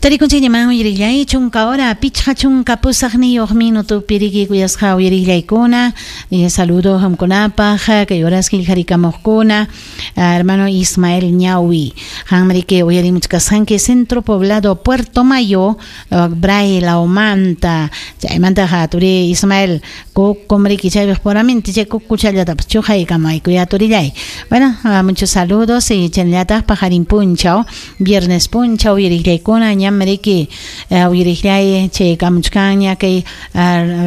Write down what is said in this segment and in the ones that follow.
Tarikunchikñaman uyarillay 10 hora 58 minutopi riki kuyasqa uyarillaykuna. Saludo qamkunapaq kay horas qillqarikamuqkuna hermano Ismael Ñawi qamriki uyarimuchkasqanki Centro Poblado Puerto Mayo Bray Laumanta chaymantaqa turi Ismael kukumriki chaypiq puramente chay kukuchallatapas chuqaykamayku ya turillay. Bueno, muchos saludos y chaynallataq paqarin punchaw viernes punchaw uyarillaykuna ñamriki uyarillay chay kamuchkanña kay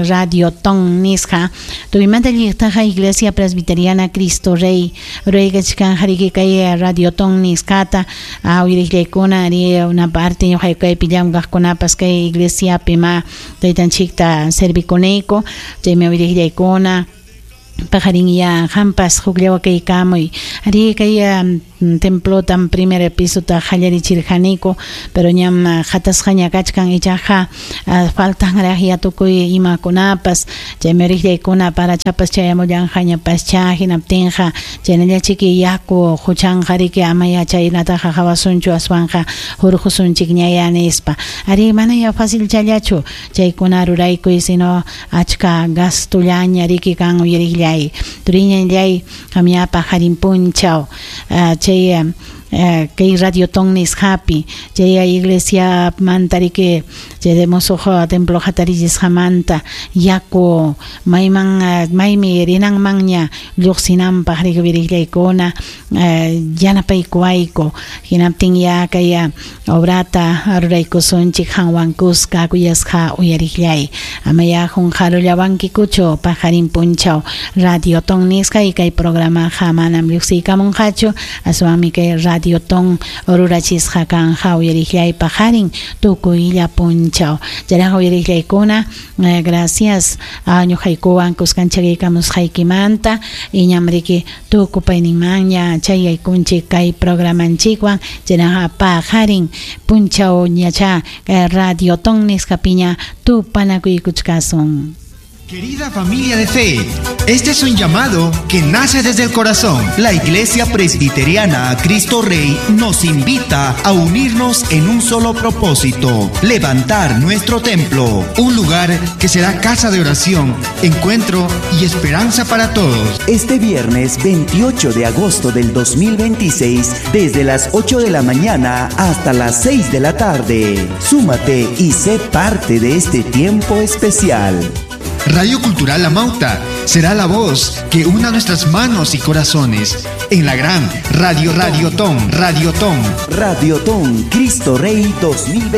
Radio Ton nisqa tuymanta lliqtaqa Iglesia Presbiteriana Cristo Rey ruwaykachkan hariki kay Radio Ton nisqata uyarillaykuna ari una parte ñuqayku llamkaqkunapas kay iglesiapi ma taytanchikta servikunayku chaymi uyarillaykuna paqarin ya qampas hukllawa kaykamuy ari kay templotam primer pisota qallarichirqaniku pero ñam qatasqaña kachkan ichaqa faltanraq ya tukuy imakunapas chaymi uyarillaykuna parachapas chayamullanqañapascha hinaptinqa chaynallachiki yaku huchanqa riki amaya chaynataqa qawasunchu aswanqa hurqusunchikñaya nispa ari mana ya fácil challachu chaykuna ruraykuy sino achka gastullaña riki kan uyarillay turiñallay qamya paqarin punchaw chay kay Radio Ton nisqapi chay iglesia mantariki chay de musuq templo hatarichisqamanta yaku mayman maymi rinanmanña lluqsinanpaq riki uyarillaykuna yanapaykuwayku hinaptin ya kay obrata ruraykusunchik qanwan kuska kuyasqa uyarillay amaya qunqarullawankikuchu paqarin punchaw Radio Ton nisqa y kay programaqa manam lluqsiykamunqachu aswanmi kay Radio Ton rurachisqa kanja uyarillay paqarin tukuylla punchaw chayraqa uyarillaykuna gracias ñuqaykuwan kuskanchaykamusqaykimanta iñamriki tukupayninmanña chayaykunchik kay programanchikwan chayraqa paqarin punchaw ñacha Radio Ton nisqapiña tupanakuykuchkasun. Querida familia de fe, este es un llamado que nace desde el corazón. La Iglesia Presbiteriana Cristo Rey nos invita a unirnos en un solo propósito: levantar nuestro templo. Un lugar que será casa de oración, encuentro y esperanza para todos. Este viernes 28 de agosto del 2026, desde las 8 de la mañana hasta las 6 de la tarde. Súmate y sé parte de este tiempo especial. Radio Cultural La Mauta será la voz que una nuestras manos y corazones en la gran Radio Ton, Radio Ton. Radio Ton, Cristo Rey 2026.